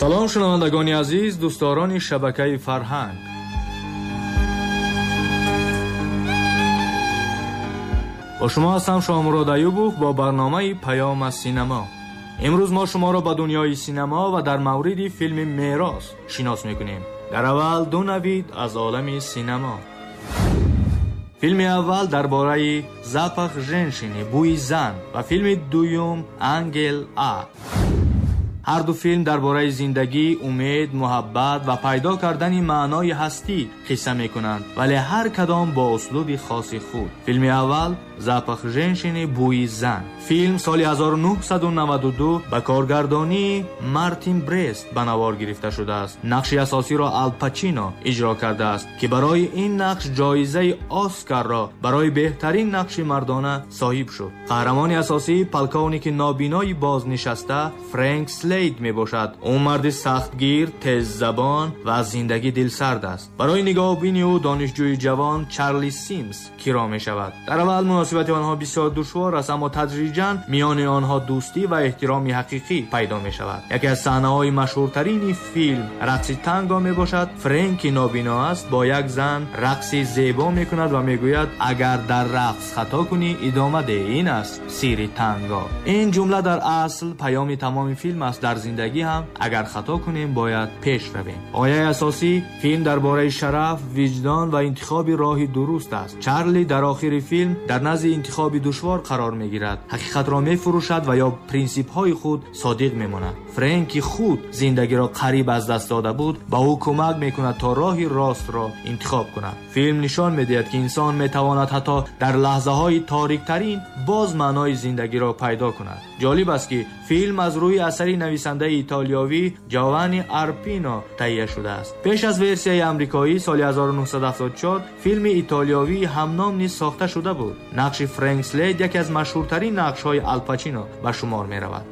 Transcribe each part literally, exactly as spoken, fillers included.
Салом шунавандагони азиз, дӯстдорони шабакаи фарҳанг. Бо шумо ҳастам Шоҳмурод Аюбов бо барномаи Паём аз синемо. Имрӯз мо шуморо ба дунёи синемо ва дар мавриди филми Мерос шинос мекунем. Дар аввал ду навид аз олами синемо. Филми аввал дар бораи Запах женщины, бӯи зан, ва филми дуюм Ангел А. Ҳар ду филм дар бораи зиндагӣ, умед, муҳаббат ва пайдо кардани маънои ҳастӣ қисса мекунанд, вале ҳар кадом бо услуби хоси худ. Филми аввал Запах женщины, бӯи зан. Филм соли ҳазору нӯҳсаду наваду ду ба коргардонии Мартин Брест ба навор гирифта шудааст. Нақши асосиро Ал Пачино иҷро кардааст, ки барои ин нақш ҷоизаи Оскарро барои беҳтарин нақши мардона соҳиб шуд. Қаҳрамони асосӣ полковники нобинои бознишаста Фрэнк Слейд мебошад. Ӯ марди сахтгир, теззабон ва аз зиндагӣ дилсард аст. Барои нигоҳубини ӯ донишҷӯи ҷавон Чарли Симс киро мешавад. Дар аввал муносибати онҳо бисёр душвор аст, аммо тадриҷан миёни онҳо дӯстӣ ва эҳтироми ҳақиқӣ пайдо мешавад. Яке аз саҳнаҳои машҳуртарини филм рақси танго мебошад. Фрэнки нобино аст, бо як зан рақси зебо мекунад ва мегӯяд: агар дар рақс хато кунӣ, идома деҳ, ин аст сирри танго. Ин ҷумла дар асл паёми тамоми филм аст. Дар зиндагӣ ҳам агар хато кунем, бояд пеш равем. Ояи асосӣ филм дар бораи шараф, виҷдон ва интихоби роҳи дуруст аст. Чарли дар охири филм дар назди интихоби душвор қарор мегирад, ҳақиқатро мефурӯшад ва ё принсипҳои худ содиқ мемонад. Фрэнки худ зиндагиро қариб аз даст дода буд, ба ӯ кӯмак мекунад то роҳи ростро интихоб кунад. Филм нишон медиҳад, ки инсон метавонад ҳатто дар лаҳзаҳои ториктарин боз маънои зиндагиро пайдо кунад. Ҷолиб аст, ки филм аз рӯи асари нависандаи итолиёвӣ Ҷовани Арпино таҳия шудааст. Пеш аз версияи амрикоӣ соли ҳазору нӯҳсаду ҳафтоду чор филми итолиёвии ҳамном низ сохта шуда буд. Нақши Фрэнк Слейд яке аз машҳуртарин нақшҳои Ал Пачино ба шумор меравад.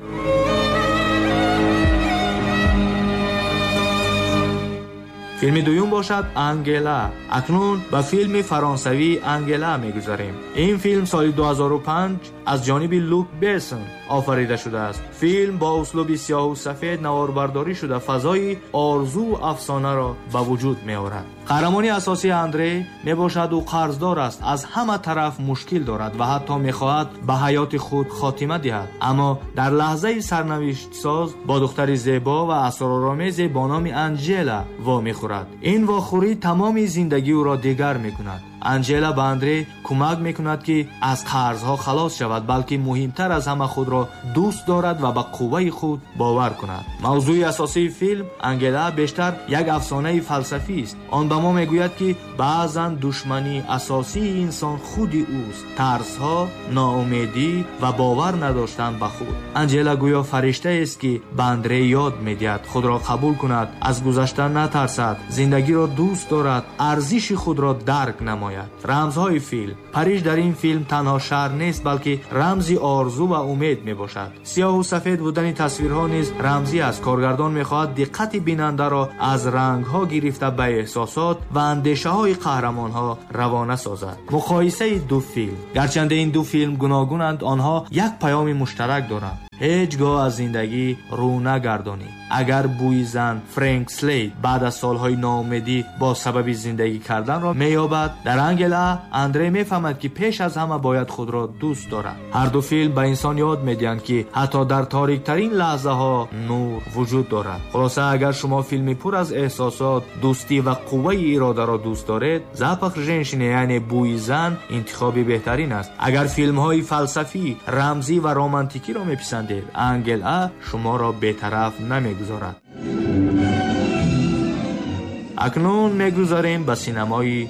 Филми дуюм бошад Ангела. Акнун ба филми фаронсавии Ангела мегузарем. Ин филм соли ду ҳазору панҷ аз ҷониби Люк Бессон офарида шудааст. Филм бо услуби сиёҳу сафед наворбардорӣ шуда, фазои орзуву афсонаро ба вуҷуд меорад. Қаҳрамони асосии Андре мебошад. Ӯ қарздор аст, аз ҳама тараф мушкил дорад ва ҳатто мехоҳад ба ҳаёти худ хотима диҳад. Аммо дар лаҳзаи сарнавиштсоз бо духтари зебо ва асроромезе бо номи Анҷела вомехӯрад. Ин вохӯрӣ тамоми зиндагии ӯро дигар мекунад. Анҷела ба Андре кӯмак мекунад, ки аз қарзҳо халос шавад, балки муҳимтар аз ҳама худро дӯст дорад ва ба қувваи худ бовар кунад. Мавзӯи асосии филм Ангела бештар як афсонаи фалсафӣ аст. Он ба мо мегӯяд, ки баъзан душмании асосии инсон худи ӯст: тарсҳо, ноумедӣ ва бовар надоштан ба худ. Анҷела гӯё фариштаест, ки ба Андре ёд медиҳад худро қабул кунад, аз гузашта натарсад, зиндагиро дӯст дорад, арзиши худро дарк намояд. Рамзҳои филм. Париж дар ин филм танҳо шаҳр нест, балки рамзи орзу ва умед мебошад. Сиёҳу сафед будани тасвирҳо низ рамзӣ аст. Коргардон мехоҳад диққати бинандаро аз рангҳо гирифта ба эҳсосот ва андешаҳои қаҳрамонҳо равона созад. Муқоисаи ду филм. Гарчанде ин ду филм гуногунанд, онҳо як паёми муштарак доранд: ҳеҷ гоҳ аз зиндагӣ рӯ нагардонӣ. Агар бӯи зан Фрэнк Слейд баъд аз солҳои ноумедӣ бо сабаби зиндагӣ карданро меёбад, дар Ангела Андре мефаҳмад, ки пеш аз ҳама бояд худро дӯст дорад. Ҳар ду филм ба инсон ёд медиҳанд, ки ҳатто дар ториктарин лаҳзаҳо нур вуҷуд дорад. Хулоса, агар шумо филми пур аз эҳсосот, дӯстӣ ва қувваи иродаро дӯст доред, Запах женщины, яъне бӯи зан, интихоби беҳтарин аст. Агар филмҳои фалсафӣ, рамзӣ ва романтикиро меписандед, Ангела шуморо бетараф намегузорад. Акнун мегузарем ба синамои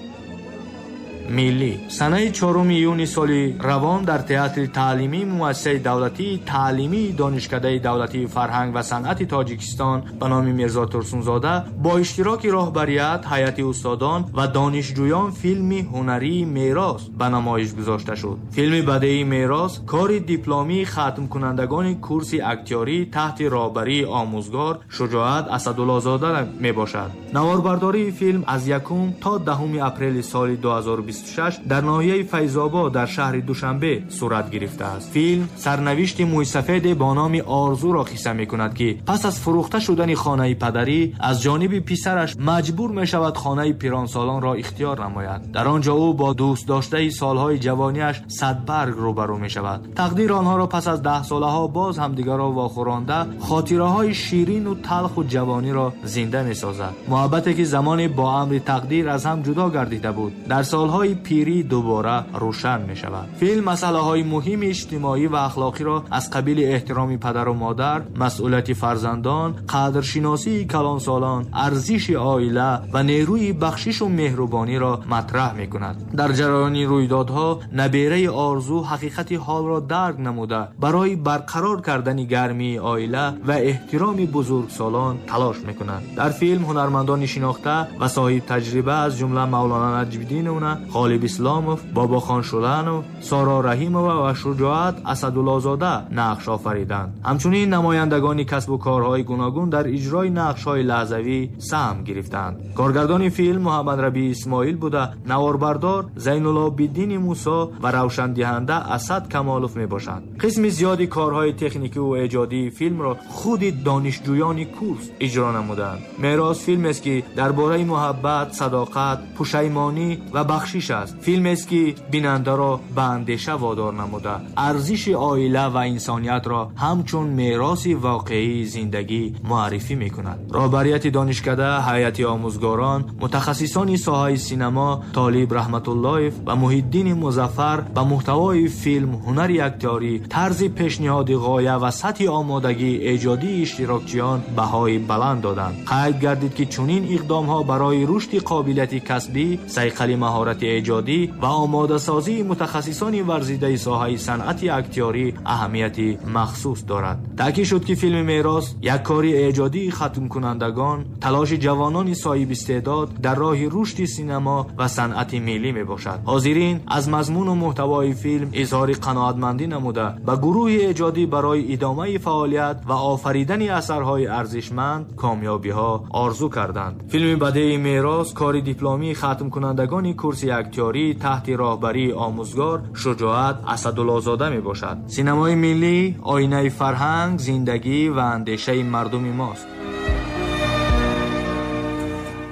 миллӣ. Санаи чоруми июни соли равон дар театри таълимии муассисаи давлатии таълимии Донишкадаи давлатии фарҳанг ва санъати Тоҷикистон ба номи Мирзо Турсунзода бо иштироки роҳбарият, ҳайати устодон ва донишҷӯён филми ҳунарии Мерос ба намоиш гузошта шуд. Филми бадеии Мерос кори дипломии хатмкунандагони курси актёрӣ таҳти роҳбарии омӯзгор Шуҷоат Асадуллозода мебошад. Наворбардории филм аз якум то даҳуми апрели соли ду ҳазору бисту шаш дар ноҳияи Файзобод дар шаҳри Душанбе сурат гирифтааст. Филм сарнавишти мӯйсафеде бо номи Орзуро қисса мекунад, ки пас аз фурӯхта шудани хонаи падарӣ аз ҷониби писараш маҷбур мешавад хонаи пиронсолонро ихтиёр намояд. Дар он ҷо ӯ бо дӯст доштаи солҳои ҷавониаш Садбарг рӯбарӯ мешавад. Тақдир онҳоро пас аз даҳ солаҳо боз ҳамдигарро вохӯронда хотираҳои ширину талху ҷавониро зинда месозад. Муҳаббате ки замоне бо амри тақдир аз ҳам ҷудо гардида буд, дар солҳои пирӣ дубора рӯшан мешавад. Филм масъалаҳои муҳими иҷтимоӣ ва ахлоқиро аз қабили эҳтироми падару модар, масъулияти фарзандон, қадршиносии калонсолон, арзиши оила ва нерӯи бахшишу меҳрубониро матраҳ мекунад. Дар ҷараёни рӯйдодҳо набераи Орзу ҳақиқати ҳолро дарк намуда барои барқарор кардани гармии оила ва эҳтироми бузургсолон талош мекунад. Дар филм ҳунармандони шинохта ва соҳиб таҷриба аз ҷумла Мавлона Наҷмиддинова, Ғолиб Исломов, Бобохон Шуланов, Соро Раҳимова ва Шуҷоат Асадуллозода нақш офариданд. Ҳамчунин намояндагони касбу корҳои гуногун дар иҷрои нақшҳои лаҳзавӣ саҳм гирифтанд. Коргардони филм Муҳаммад Рабӣ Исмоил буда, наворбардор Зайнулобиддини Мусо ва равшандиҳанда Асад Камолов мебошанд. Қисми зиёди корҳои техникӣ ва эҷодии филмро худи донишҷӯёни курс иҷро намуданд. Мерос филмест, ки дар бораи муҳаббат, садоқат, пушаймонӣ ва бахшиш аст. Филмест, ки бинандаро ба андеша водор намуда арзиши оила ва инсониятро ҳамчун мероси воқеии зиндагӣ муаррифӣ мекунад. Роҳбарияти донишкада, ҳайати омӯзгорон, мутахассисони соҳаи синамо Толиб Раҳматуллоев ва Муҳиддини Музаффар ба муҳтавои филм, ҳунари актёрӣ, тарзи пешниҳоди ғоя ва сатҳи омодагии эҷодии иштирокчиён баҳои баланд доданд. Қайд гардид, ки чунин иқдомҳо барои рушди қобилияти касбӣ, сайқали маҳорати эҷодӣ ва омодасозии мутахассисони варзидаи соҳаи санъати актёрӣ аҳамияти махсус дорад. Таъкид шуд, ки филми Мерос як кори эҷодии хатмкунандагон, талоши ҷавонони соҳибистеъдод дар роҳи рушди синамо ва санъати миллӣ мебошад. Ҳозирин аз мазмуну муҳтавои филм изҳори қаноатмандӣ намуда ба гурӯҳи эҷодӣ барои идомаи фаъолият ва офаридани асарҳои арзишманд комёбиҳо орзу карданд. Филми бадеи Мерос кори дипломии хатмкунандагони курси актёрӣ таҳти роҳбарии омӯзгор Шуҷоат Асадуллозода мебошад. Синамои миллӣ оинаи фарҳанг, зиндагӣ ва андешаи мардуми мост.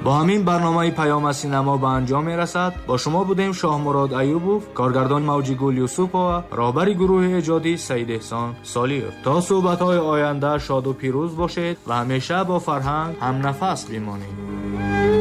Бо ҳамин барномаи Паём аз синамо ба анҷом мерасад. Бо шумо будем Шоҳмурод Аюбов, коргардон Мавҷигул Юсупова, роҳбари гурӯҳи эҷодӣ Саид Эҳсон Солиев. То суҳбатҳои оянда шоду пирӯз бошед ва ҳамеша бо фарҳанг ҳамнафас бимонед.